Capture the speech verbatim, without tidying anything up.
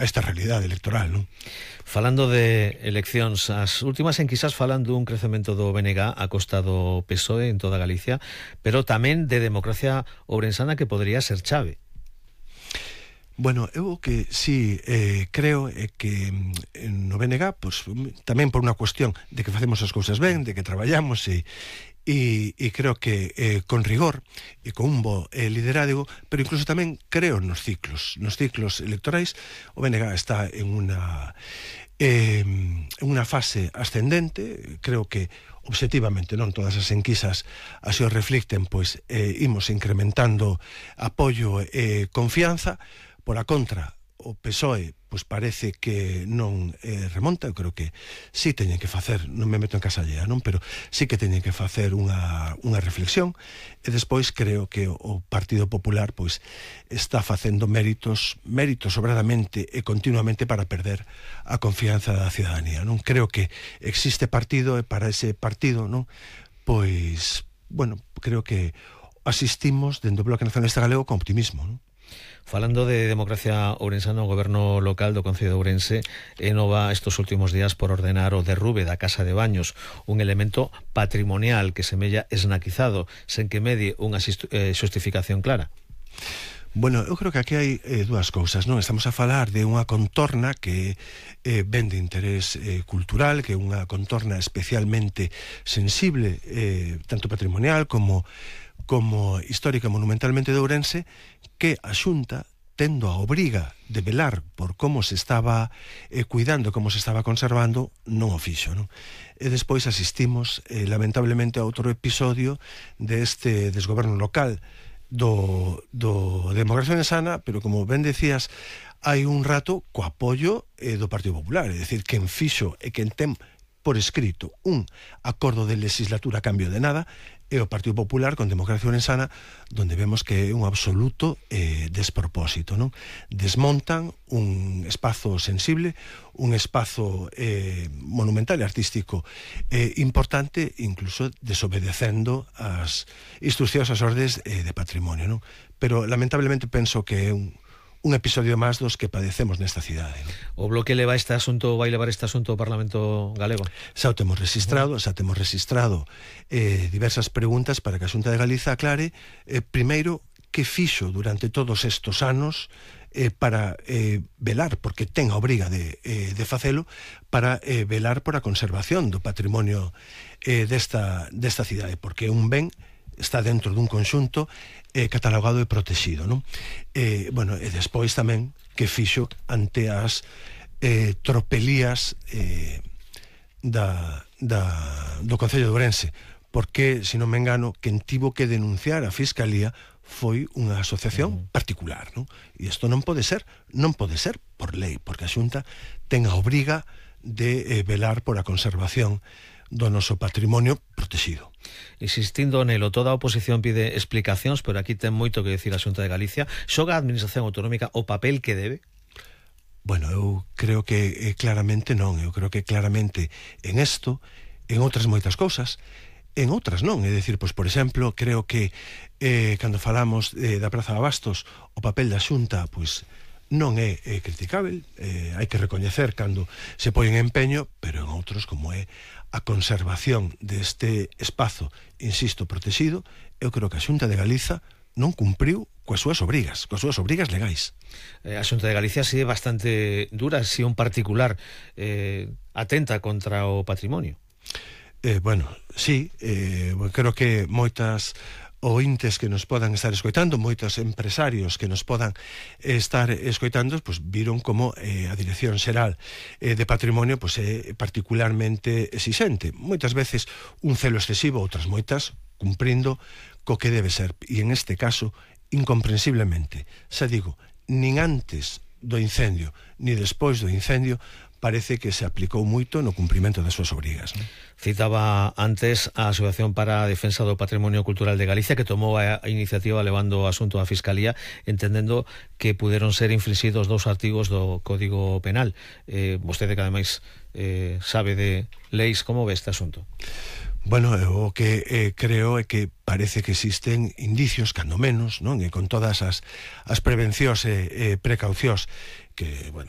a esta realidade electoral, non? Falando de eleccións, as últimas en quizás falan dun crecemento do B N G a costa do P S O E en toda Galicia, pero tamén de Democracia Ourensana, que podría ser chave. Bueno, eu que sí eh, creo é que no B N G, pues, tamén por unha cuestión de que facemos as cousas ben, de que traballamos e E, e creo que eh, con rigor e con un bo eh, liderazgo, pero incluso tamén creo nos ciclos nos ciclos electorais. O B N G está en unha eh, en unha fase ascendente. Creo que obxectivamente, non todas as enquisas así o reflicten, pois eh, imos incrementando apoio e eh, confianza. Por a contra, o P S O E pois parece que non eh, remonta. Eu creo que sí teñen que facer, non me meto en casa allea, non, pero sí que teñen que facer unha, unha reflexión. E despois creo que o Partido Popular pois está facendo méritos méritos sobradamente e continuamente para perder a confianza da cidadanía, non? Creo que existe partido, e para ese partido, non, pois, bueno, creo que asistimos dentro do Bloque Nacionalista Galego con optimismo, non? Falando de Democracia Ourensana, o goberno local do Concello de Ourense enova estes últimos días por ordenar o derrube da casa de baños, un elemento patrimonial que semella esnaquizado, sen que medie unha xustificación clara. Bueno, eu creo que aquí hai eh, dúas cousas, non? Estamos a falar de unha contorna que eh, ven de interés eh, cultural, que é unha contorna especialmente sensible, eh, tanto patrimonial como como histórica monumentalmente de Ourense, que a Xunta, tendo a obriga de velar por como se estaba eh, cuidando, como se estaba conservando, non o fixo, non? E despois asistimos eh, lamentablemente a outro episodio deste desgoberno local do, do Democracia Ourensana, pero como ben decías, hai un rato co apoio eh, do Partido Popular, é dicir, quen fixo e quen ten por escrito un acordo de legislatura a cambio de nada é o Partido Popular con Democracia Ourensana, donde vemos que é un absoluto eh, despropósito, non? Desmontan un espazo sensible, un espazo eh, monumental e artístico eh, importante, incluso desobedecendo as instruccións, as ordes eh, de patrimonio, non? Pero lamentablemente penso que é un un episodio máis dos que padecemos nesta cidade, non? O Bloque leva este asunto, vai levar este asunto ao Parlamento galego? Xa o temos registrado, xa temos registrado eh, diversas preguntas para que a Xunta de Galiza aclare, eh, primeiro, que fixo durante todos estos anos eh, para eh, velar, porque ten a obriga de, eh, de facelo, para eh, velar por a conservación do patrimonio eh, desta, desta cidade, porque un ben está dentro dun conxunto eh, catalogado e protegido, non? Eh, bueno, e despois tamén que fixo ante as eh, tropelías eh, da, da, do Concello de Ourense, porque, se non me engano, quen tivo que denunciar a Fiscalía foi unha asociación particular, non? E isto non pode ser, non pode ser por lei, porque a Xunta ten a obriga de eh, velar por a conservación do noso patrimonio protegido. Insistindo nelo, toda a oposición pide explicacións, pero aquí ten moito que decir a Xunta de Galicia. Xoga a Administración Autonómica o papel que debe? Bueno, eu creo que eh, claramente non. Eu creo que claramente en isto, en outras moitas cousas, en outras non. É dicir, pois, por exemplo, creo que eh, cando falamos eh, da Praza de Abastos, o papel da Xunta, pois, non é, é criticável, eh, hai que recoñecer cando se poi en empeño, pero en outros, como é a conservación deste espazo, insisto, protegido, eu creo que a Xunta de Galiza non cumpriu coas súas obrigas, coas súas obrigas legais. Eh, a Xunta de Galicia si é bastante dura, si un particular eh, atenta contra o patrimonio. Eh, bueno, sí, eh, creo que moitas ointes que nos podan estar escoitando, moitos empresarios que nos podan estar escoitando, pues viron como eh, a Dirección Xeral eh, de Patrimonio pues, é particularmente exixente. Moitas veces un celo excesivo, outras moitas cumprindo co que debe ser. E en este caso, incomprensiblemente, xa digo, nin antes do incendio, ni despois do incendio, parece que se aplicou moito no cumprimento das súas obrigas, non? Citaba antes a Asociación para a Defensa do Patrimonio Cultural de Galicia, que tomou a iniciativa levando o asunto á Fiscalía, entendendo que puderon ser infringidos dous artigos do Código Penal. Eh, vostede que ademais eh, sabe de leis, como ve este asunto? Bueno, o que eh, creo é que parece que existen indicios, cando menos, non? E con todas as, as prevencións e eh, precaucións que, bueno,